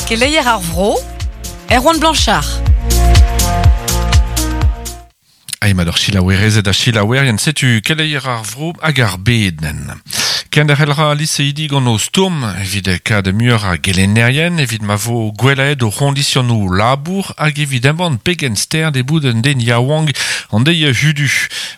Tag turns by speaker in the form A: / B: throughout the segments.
A: Keleier ar vro, Erwan Blanchard.
B: Aimad ur selaouerezed ha selaouerien, setu keleier ar vro hag ar bed nen. Kenderc'hel ra liseidi gant o stourm evit kad muioc'h a gelennerien, evit ma vo gwellaet o c'hondisionoù labour hag evit embann pegen sterd e bout un den yaouank an deiz hudu.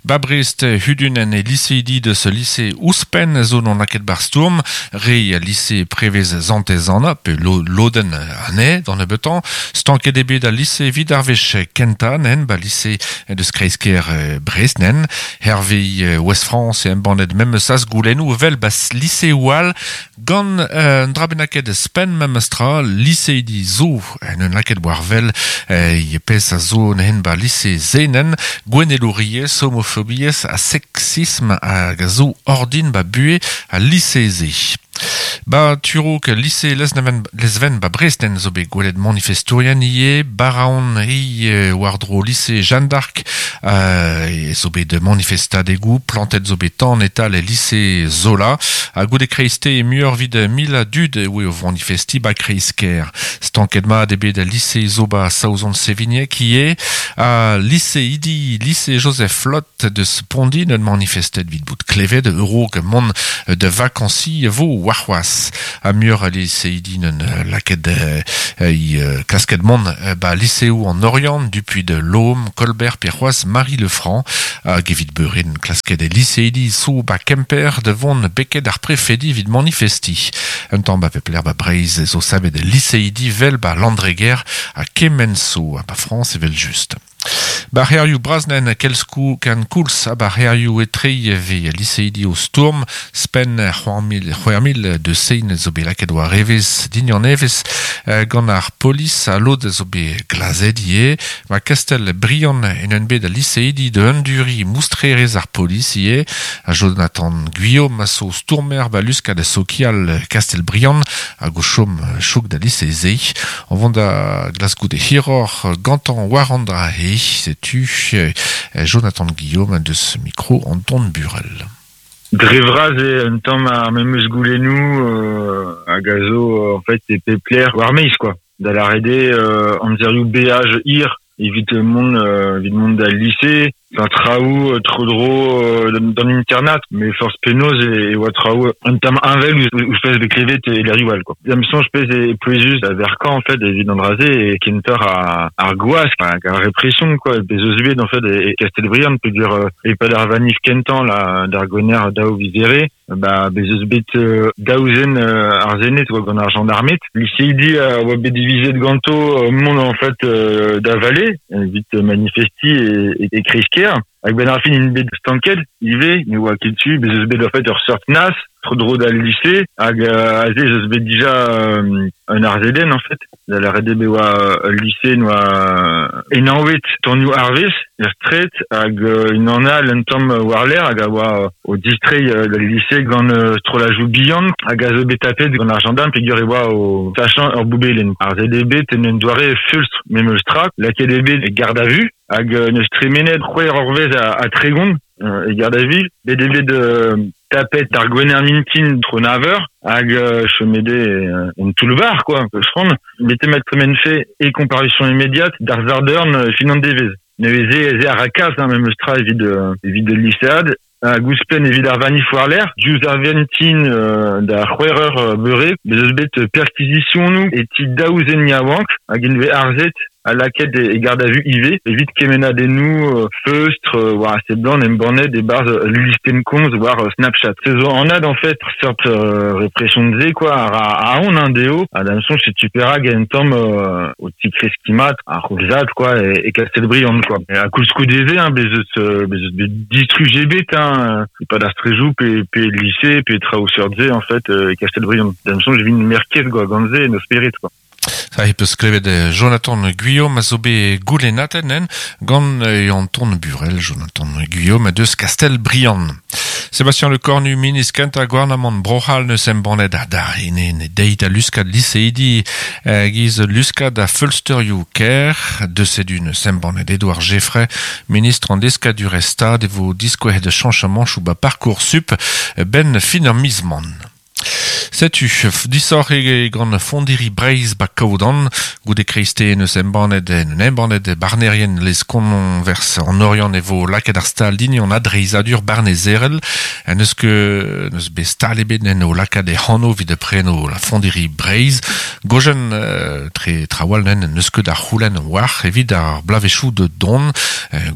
B: Ba Brest hudun en e liseidi deus lise ouzhpenn zo n'on lakaet bar stourm, re lise prevez Santez-Anna pe lodenn anezhe d'an nebeutañ. Stanket eo bet al lise evit ar wech kentañ nen ba lise deus kreiz-kêr Brest nen. Hervez Ouest France e embannet memes azgoulennoù evel ba liseoù all gant un dra bennaket spenn memes tra liseidi zo en un lakaet war wel e pezh a zo nen ba lise Zenen gouennelouriezh, homofobiezh ha seksism hag a zo ordin ba buhez al lise-se. Ba Turok, lise Lesneven, Lesven ba Brest en zo bet gwelet manifestourien ivez, Baraon e war-dro lise Jeanne d'Arc e zo bet manifestadegoù, plantet zo bet tan e-tal e lise Zola, ha goude kreiste muioc'h evit mil a dud e oe o vanifestiñ ba kreiz-kêr. Stanket mat eo bet al lise zo ba Saozon-Sevigneg ivez, ha lise Idi, lise Joseph Flott deus Pondi neus manifestet evit bout klevet a-raok mont da vakañsiñ e vo warc'hoazh. Ha muioc'h a liseidi neus lakaet klasket mont ba liseoù an Oriant, Dupuy de Lôme, Colbert pe c'hoazh Marie Le Franc. Hag evit beurin klasket e liseidi zo ba Kemper da vont beket ar prefedi evit manifestiñ. Un tamm ba pep lec'h ba Breizh zo savet liseidi 'vel ba Landreger ha kement zo ha ba Frañs evel-just. Ba c'hêrioù bras-nen kelskou kenkoulz ha ba c'hêrioù etre e vez liseidi o stourm. Spenn 6000 deus sein zo bet lakaet war evezh dignan evezh gant ar polis ha lod zo bet glazet ivez. Ma Kastell Briand en un bet al liseidi da anduriñ moustrerezh ar polis ivez. Ha Jonathan Guillaume a zo stourmer ba luskad sokial Kastell Briand hag o chom chouk da lise-se. O vont da glask goude hiroc'h gantañ war an dra-se, setu Jonathan Guillaume deus mikro Anton Burel.
C: Dre vras eo un tamm ar memes goulennoù hag a zo en fait e pep lec'h war maez quoi. Da lâret eo amzerioù beaj hir evit mont evit mont d'al lise, Enfin, traoù tro-dro d'an internat, mais forzh penaos e oa traoù un tamm heñvel ouzh pezh bet klevet e lec'hioù all quoi. Da'm soñj pezh e pouezus da verkañ en fait evit an dra-se e kentoc'h ar gwask hag ar repression quoi bez eus bet en fait e Kastell-Briant peogwir e-pad ar vanif kentañ la d'ar Gwener daou viz Here Ba, bez eus bet daou zen ar Sened oa gant ar jandarmed. Liseidi a oa bet divizet ganto mont en fait da vale evit manifestiñ e, e kreiz-kêr. Hag benn ar fin int bet stanket ivez, ne oa ket tu. Bez eus bet en fait ur seurt nas tro-dro d'al lise hag aze ez eus bet dija un arzedenn en fait. Da lâret eo bet oa ul lise noa enaouet tonioù arvez er straed hag unan all un tamm war-lerc'h hag a oa o distreiñ d'al lise gant strollajoù bihan hag a zo bet tapet gant ar jandarm peogwir e oa o sachañ ur boubelenn. Ar ZDB en un doare feulstr memes tra, lakaet eo bet e garde à vue hag n'eus tremenet c'hwec'h eurvezh ha 30 e garde à vue. Bet eo bet tapet ar Gwener mintin tro nav eur hag chomet eo en toull-bac'h quoi, peus Bete ma tremenfe e comparution immédiate d'ar Sardorn fin an devezh. Neuze ez eo ar rakaz hein, memes tra evit evit ul lisead hag ouzhpenn evit ar vanif war-lerc'h diouzh ar vintin da c'hwec'h eur beure bez eus bet perkizisionoù e ti daou zen yaouank hag int vez arzet ha lakaet e garde à vue ivez evit kemennadennoù feustr war a seblant embannet e-barzh ul listenn komz war Snapchat. Se zo anat en fait seurt repression-se quoi a ra aon hein, dezho ha d'am soñj setu perak un tamm o tikreskiñ mat ar c'houlzad quoi e Kastell-Briand quoi. Ha koulskoude se hein, bez eus bez eus bet distruj ebet hein, e-pad ar strejoù pe pe lise pe traoù seurt-se en fait e Kastell-Briand. D'am soñj e vint merket quoi gant se en o spered quoi.
B: Ça e peus klevet Jonathan Guillaume a zo bet goulennatet en gant Anton Burel, Jonathan Guillaume deus Kastell-Briand. Sébastien Lecornu, ministr kentañ gouarnamant Bro-C'hall neus embannet ar ene ne deit a luskad liseidi giz luskad a feulsterioù kêr. Deus sedu neus embannet Edouard Geffray, ministr an deskadurezh stad e vo diskouezet chañchamanchoù ba Parcoursup ben fin ar miz-man. Setu, disoc'h e gant fondiri Breizh ba Kaodan, goude kreiste neus embannet en embannet barnerien les konvers an Oriant e vo lakaet ar stal din an adreizadur barnezerel, en eus ket neus bet stal ebet en o lakaat e c'hano evit preno la fondiri Breizh, gojen tre trawal nen neus ket ar c'houlenn war evit ar blavechoù de don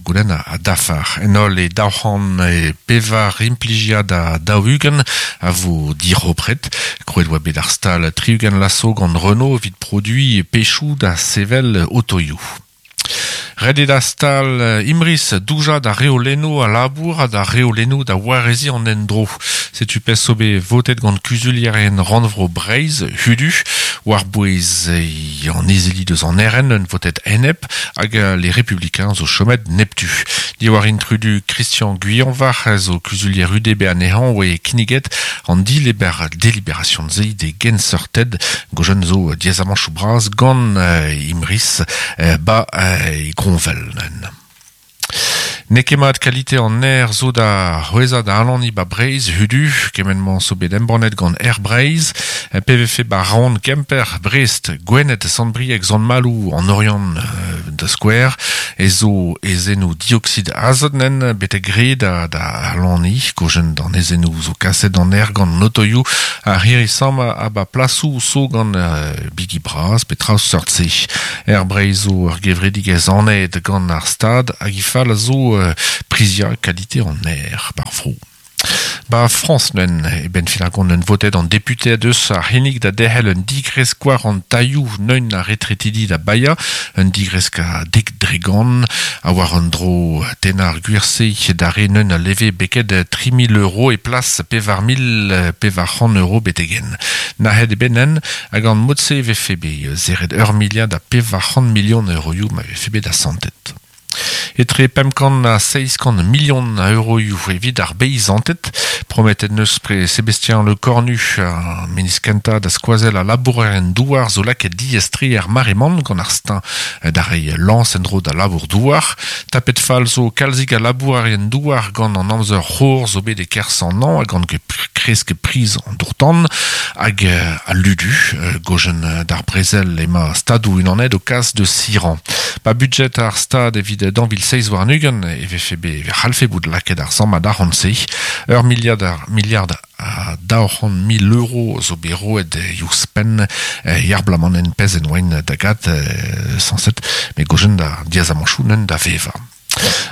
B: goulenn a dafar. En holl e daouc'hant e pevar implijiad a daou-ugent a vo diropret. Krouet oa bet ar stal tri-ugent laso gant Renault evit produiñ pechoù da sevel otoioù. Ret eo da stal Imris doujañ da reolennoù a labour ha da reolennoù da wareziñ an endro. Setu pezh zo bet votet gant kuzulierien rannvro Breizh, hudu, war-bouez an izili deus an RN un votet enep hag les Républicains zo chomet neptu. Diwar intrudu Christian Guyonvarc'h zo kuzulier UDB anezhañ oe kinniget an dileber délibération-se de genseurted gojen zo diazamanchoù bras gant Imris ba Gronvel. N'eo ket mat kalite an aer zo da c'hwezhañ da alaniñ ba Breizh hudu, kement-mañ zo bet embannet gant Air Breizh, PVF ba Rouen, Kemper, Brest, Gwened, Sant-Brieg, Sant-Maloù, an Oriant da skouer, e zo aezhennoù dioksid azot nen betek re da da alaniñ, gojen d'an aezhennoù zo kaset an aer gant an otoioù ar hirisamm ha ba plasoù zo gant bigi bras pe traoù seurt-se. Air Breizh zo ur gevredigezh anat gant ar Stad hag he fal a zo priziañ kalite an aer bar vro. Ba Frañs nen, e benn fin ar gont un votet an deputeed eus ar c'hinnig da derc'hel un digresk war an tailhoù neun ar retretidi da baeañ, un digresk a dek dre gant, ha war un dro tennañ ar gwir-se da re neun a leve beket 3 000 euro e plas 4400 euro betegen. Nac'het eo bet nen, hag an mod-se e vefe bet serret ur miliard ha 400 milion euroioù ma vefe bet asantet. Etre 500 ha 700 milion a euroioù evit ar beizanted, prometet neus pre Sébastien Lecornu, ar ministr kentañ da skoazell al labourerien douar zo lakaet diaes-tre er mare-mañ gant ar steuñv da reiñ lañs en-dro da labour-douar. Tapet fall zo kalzik a labourerien douar gant an amzer c'hor zo bet e-kerzh an hañv ha gant kresk priz an dour-tan hag al ludu. Gojen d'ar brezel emañ Stadoù-Unanet o kas deus Iran. Ba budjet ar Stad evit 2027 e vefe bet e c'hallfe bout lakaet ar sammad arc'hant-se. Ur miliard ar miliard a 200 000 euro zo bet roet ouzhpenn ar bloaz-mañ en pezh en oain da gat sañset met gojen da diazamanchoù neun da vevañ.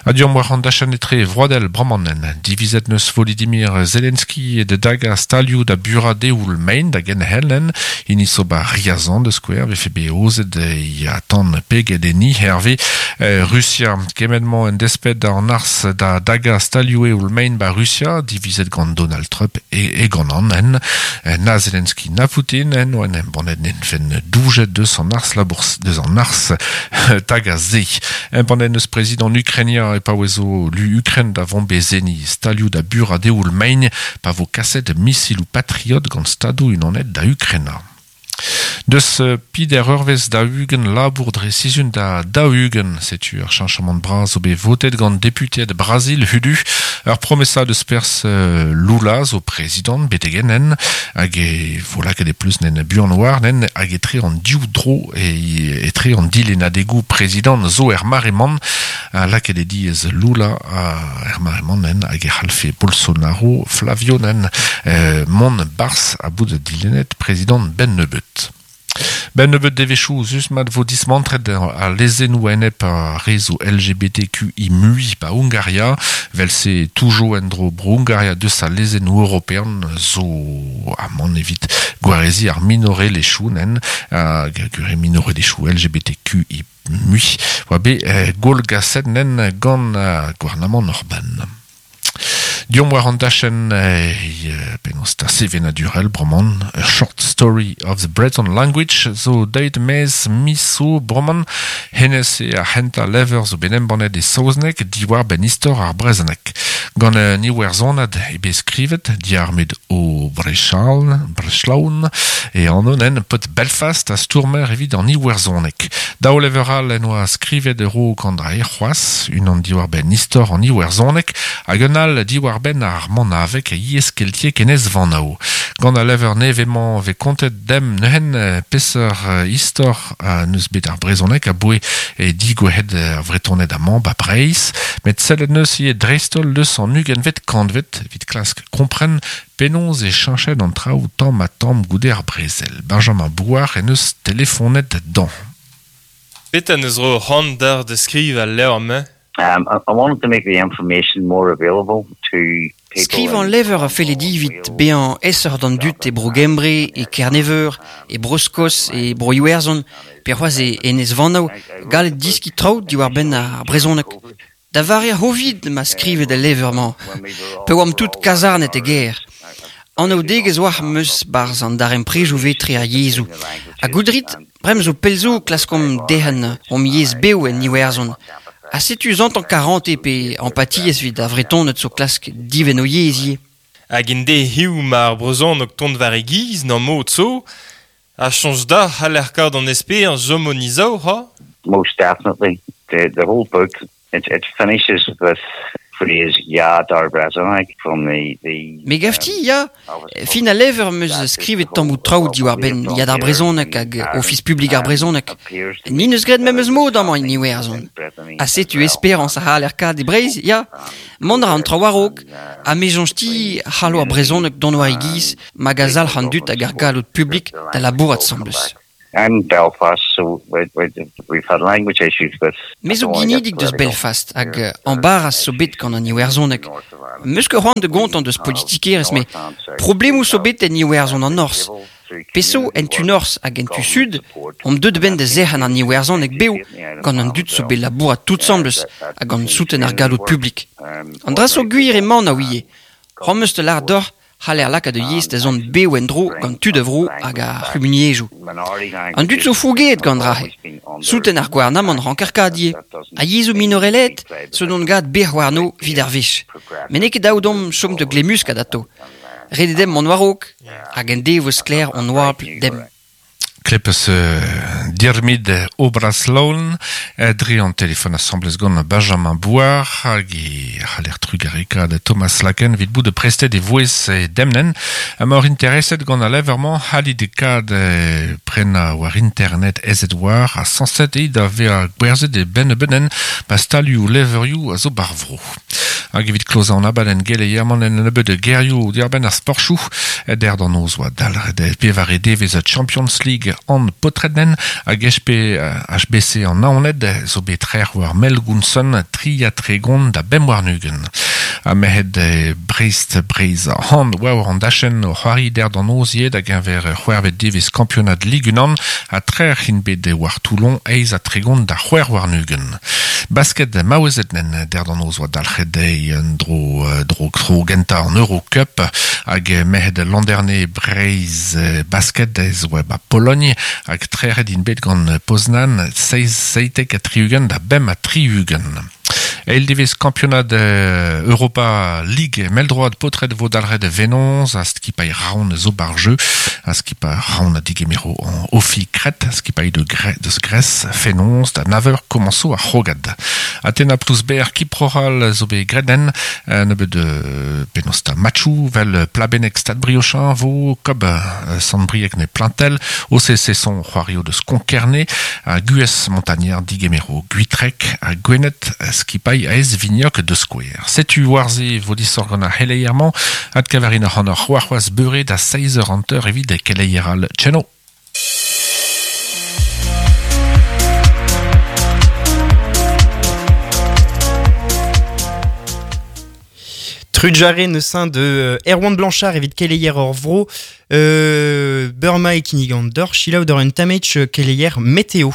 B: Ha deomp war an dachenn etre vroadel bremañ divizet neus Volodymyr Zelensky da dagañ stalioù da burañ eoul mein da genhellen hini zo ba Riazan da skouer vefe bet aozet ya tan peget enni herve Rusia kement-mañ en desped an arz da dagañ stalioù eoul mein ba Rusia divizet gant Donald Trump e gant an en na Zelensky na Putin en oa en embannet nen doujet deus an arz labour deus an arz tagañ se. Embannet neus prezidant Ukrainia e paouezo lu Ukraine da vont bezeni stalioù da burañ eoul mein pa vo kaset misiloù Patriot gant Stadoù Unanet da Ukraina. Deus peder eurvezh da ugent labour dre sizhun da 40, setu ur cheñchamant bras zo bet votet gant deputeed Brazil hudu ur promesa deus perzh Lula zo prezidant betek-henn hag e vo lakaet e pleustr nen buan war nen hag etre an div dro e etre an dilennadegoù prezidant zo er mare-mañ a lakaet e diaes Lula er mare-mañ nen hag e c'hallfe Bolsonaro Flavio nen mont 'barzh ha bout dilennet prezidant ben nebeut. Ben nebeut devezhioù just mat vo dismantret al lezennoù enep ar re zo LGBTQI mui ba Hungaria, vel-se toujo en-dro bro Hungaria deus al lezennoù european zo amañ evit gwareziñ ar minorelezhioù nen hag gure minorelezhioù LGBTQI mui oa bet gwallgaset nen gant gouarnamant Orban. Deomp war an dachenn penaos ta sevenadurel bremañ A Short Story of the Breton Language zo deuet maez miz zo bremañ hennezh eo ar c'hentañ levr zo bet embannet e saozneg diwar-benn istor ar brezhoneg. Gant un iwerzhonad eo bet skrivet Diarmuid Ó Breisleáin e anv nen paotr Belfast ha stourmer evit an iwerzhoneg. Daou levr all en oa skrivet a-raok an dra c'hoazh, unan diwar-benn istor an iwerzhoneg hag un all diwar diar-benn ar manavek a yez keltiek enez vanao. Gant a lever nevemañ ve kontet dem neuhen peseurt istor neus bet ar brezonek a boe e digouhet ar vretonet amañ ba Breiz, met sellet neus ie dreistol deus an ugenvet kantvet evit klask kompren penaos e cheñchet an traoù tamm ha tamm goude ar brezel. Benjamin Bouard en eus telefonet dan.
D: Petra neus ro c'hoant d'ar da skriv al levr-mañ?
E: I wanted to make the information more available to people
F: Skrivañ lever a felle dit evit bezañ aesoc'h d'an dud e Bro-Gembre, e Kerneveur, e Bro-Skos, e Bro-Iwerzhon, pe c'hoazh e Enez-Vanav, gallet deskiñ traoù diwar-benn ar brezhoneg. Da vare ar C'hovid ma skrivet al levr-mañ, pa oamp tout kazarnet e gêr. Anaoudegezh oac'h 'm eus 'barzh an darempredoù etre ar yezhoù. Ha goudrit, bremañ zo pell zo klaskomp derc'hen hom yezh bev en Iwerzhon. Ha setu zantañ karante pe empatiezh evit ar Vretoned zo klask divenn o yezh ivez.
D: Hag en de hiziv mar brezhoneg tont war e giz n'am mod zo, a soñj deoc'h c'haller kaout an esperañs chom en izao, ha?
E: Most definitely. The whole book, it finishes with phrase Ya dar brezhoneg from the
F: Me gavti, ya, fin al levr 'm eus skrivet tammoù traoù diwar-benn Ya d'ar brezhoneg hag Ofis publik ar brezhoneg. Ni n'eus graet memes mod amañ en Iwerzhon. Ha setu esperañs a c'haller kaat e Breizh, ya. Mont a ra an traoù war-raok, ha me soñj-ti c'hallo ar brezhoneg dont war e giz mag a zalc'h an dud hag ar galloud publik da labourat asambles.
E: I'm Belfast, so we've had language issues with...
F: Me zo ginidik deus Belfast hag embarras zo bet gant an Iwerzhoneg. Meus ket c'hoant da gontañ deus politikerezh, met problemoù zo bet en Iwerzhon an Norzh. Peso en tu norzh hag en tu sud omp deuet a-benn da zerc'hen an Iwerzhoneg bev gant an dud zo bet labourat tout asambles ha gant souten ar galloud publik. An dra zo gwir emañ a ouie. C'hoant 'm eus da lâret deoc'h c'haller lakaat ur yezh da zont bev en-dro gant tud a vro hag ar c'humuniezhioù. An dud zo fougeet gant dra-se. Souten ar gouarnamant ranker kaat ivez. Ha yezhoù minorelaet zo dont gant bec'h warno evit ar wech. Met n'eo ket dav deomp chom da glemmuskat atav. Ret eo demp mont war-raok hag en devo sklaer hon oabl demp.
B: Klepes Diarmuid Obraslaon dre an telefon asambles gant Benjamin Bouard hag e c'haller trugarekaat Thomas Laken evit bout prestet e vouezh e demnen. Emaoc'h intereset gant al levr-mañ c'hallit kaat prenañ war internet aezet war ha sañset eo da vezañ gwerzhet e benn-benn pa stalioù levrioù a zo bar vro. Hag evit klozañ an abadenn geleier-mañ en nebeud gerioù diàr-benn ar sportoù, der d'an noz oa dalc'het pevare devezh Champions League an paotred-nen hag HP, HBC an Naoned zo bet trec'h war Melgounson 33 da 25. Ha merc'hed Brest Breizh han war an dachenn o c'hoari der d'an noz ivez da geñver c'hwec'hvet devezh kampionad Ligue 1 ha trec'h int bet war Toulon 38 da 26. Basket maouezed nen der d'an noz oa dalc'het dezhi un dro dro tro gentañ an Eurocup hag merc'hed Landerne Breizh basket ez oa ba Pologne hag trec'het int bet gant Poznan 77 da 65. Eil devezh kampionad Europa League mell-droad paotred vo dalc'het venoz a skipailh Raon zo bar jeu a skipailh Raon a digemero an Ofi Kret a skipailh de deus Grèce fenoz da naver komañso ar c'hrogad. Atena Plouzber Kiproral zo bet graet nebeud penaos ta matchoù vel Plabennec Stade Briochin vo Kob Sant-Brieg ne Plantel OCC son c'hoario deus Konkerne a Gues Montagnard digemero Gwitrek a Gwened skipailh aez Vignoc de Square. Setu war-se vo disoc'h gant ar c'heleier-mañ adkavarin ac'hanoc'h c'hoarc'hoazh beure da 6h evit keleier all. Tcheno!
G: Trujare neus de Erwan Blanchard evit keleier ur vro Burma e kinnig an dor, selaou d'ur un tamech keleier météo.